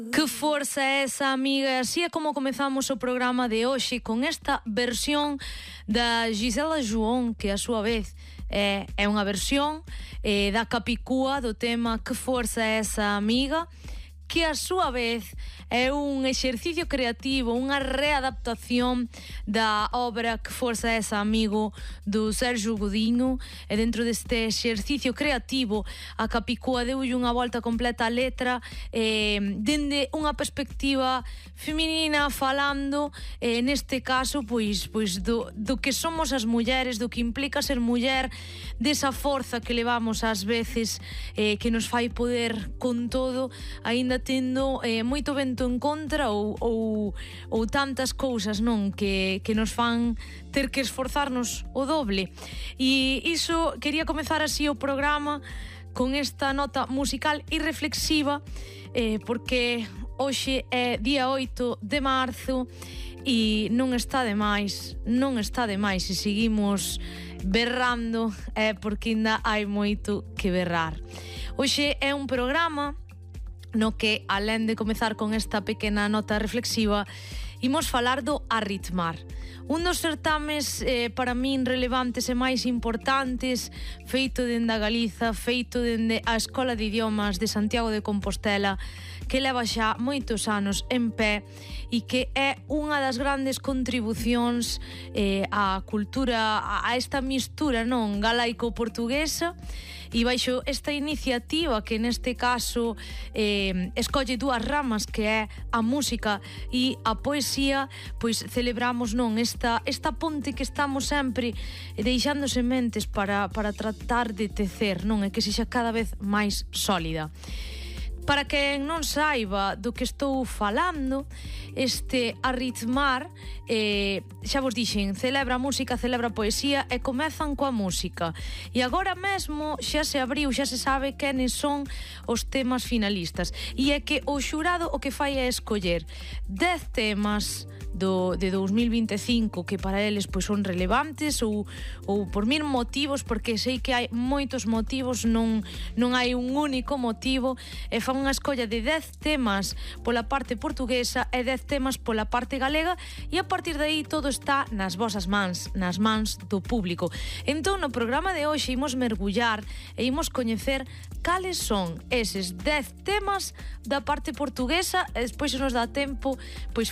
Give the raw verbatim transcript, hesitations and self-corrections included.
Que forza é esa, amiga? Así é como comezamos o programa de hoxe, con esta versión da Gisela João, que a súa vez é, é unha versión eh, da Capicúa do tema Que forza é esa, amiga, que a súa vez é un exercicio creativo, unha readaptación da obra Que forza é esa, amigo, do Sergio Godinho. E dentro deste exercicio creativo a Capicúa deulle unha volta completa a letra eh, dende unha perspectiva feminina, falando eh, neste caso pois, pois do, do que somos as mulleres, do que implica ser muller, desa forza que levamos ás veces eh, que nos fai poder con todo, aínda tendo eh, moito vento en contra ou, ou, ou tantas cousas, non, que, que nos fan ter que esforzarnos o doble. E iso, quería comezar así o programa con esta nota musical e reflexiva eh, porque hoxe é día oito de marzo e non está de máis, non está de máis se seguimos berrando, é porque ainda hai moito que berrar. Hoxe é un programa no que, alén de comezar con esta pequena nota reflexiva, imos falar do Arritmar, un dos certames eh, para min relevantes e máis importantes, feito dende a Galiza, feito dende a Escola de Idiomas de Santiago de Compostela, que leva xa moitos anos en pé e que é unha das grandes contribucións eh, á cultura, a esta mistura, non, galaico-portuguesa. E baixo esta iniciativa, que neste caso eh, escolle dúas ramas, que é a música e a poesía, pois celebramos, non, esta, esta ponte que estamos sempre deixando sementes para, para tratar de tecer, non, e que sexa cada vez máis sólida. Para quen non saiba do que estou falando, este Arritmar, eh, xa vos dixen, celebra a música, celebra a poesía e comezan coa música. E agora mesmo xa se abriu, xa se sabe quenes son os temas finalistas. E é que o xurado o que fai é escoller dez temas do, de dos mil vinte e cinco que para eles pois son relevantes ou, ou por mil motivos, porque sei que hai moitos motivos, non, non hai un único motivo, e fan unha escolla de dez temas pola parte portuguesa e dez temas pola parte galega, e a partir de aí todo está nas vosas mans, nas mans do público. Entón no programa de hoxe imos mergullar e imos coñecer cales son eses dez temas da parte portuguesa, e despois se nos dá tempo pois